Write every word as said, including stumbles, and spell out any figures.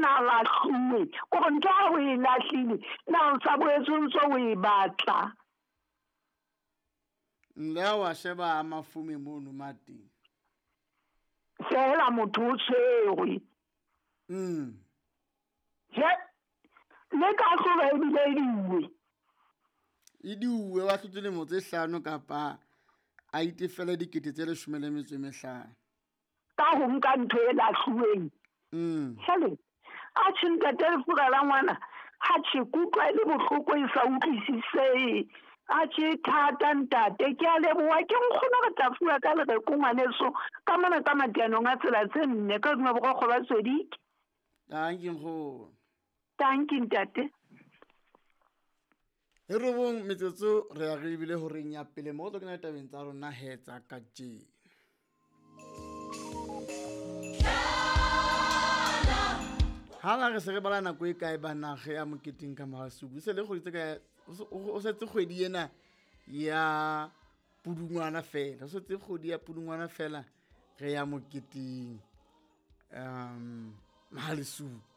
na lahluwe kore ntho ha o e lahlile na o sa boetse o ntso o e batla. Le wa sheba mafume mono mateng. Fela motho o tshwerwe. Mm. Je le ka hlolo ebile e diuwe. E diuwe wa hlotse dilemo tse hlano kapa a itefele dikete tse leshome le metso e mehlano. Ka ho nka ntho e lahluweng. Mm. Jwale atjhe ntate lefura la ngwana ha tjhe ke utlwa e le bohloko e sa utlwisisehe. Atjhe thata ntate ke a leboha ke nkgono re tla fuwa ka lereko ngwaneso ka mona ka matianong a tsela tse nne ka hodima borokgo ba Swedike. Tanki nkgono. Tanki ntate. E robong metsotso re ya re ebile horeng ya pele mo tlo kena tabeng tsa rona he tsa kajeno. Ha la re se re bala nako e kae bana ge ya moketeng ka Mahasuku se le kgwedi tse kae o setse kgwedi ena ya Pudungwana fela o setse kgwedi ya Pudungwana fela re ya moketeng um Mahalesuku.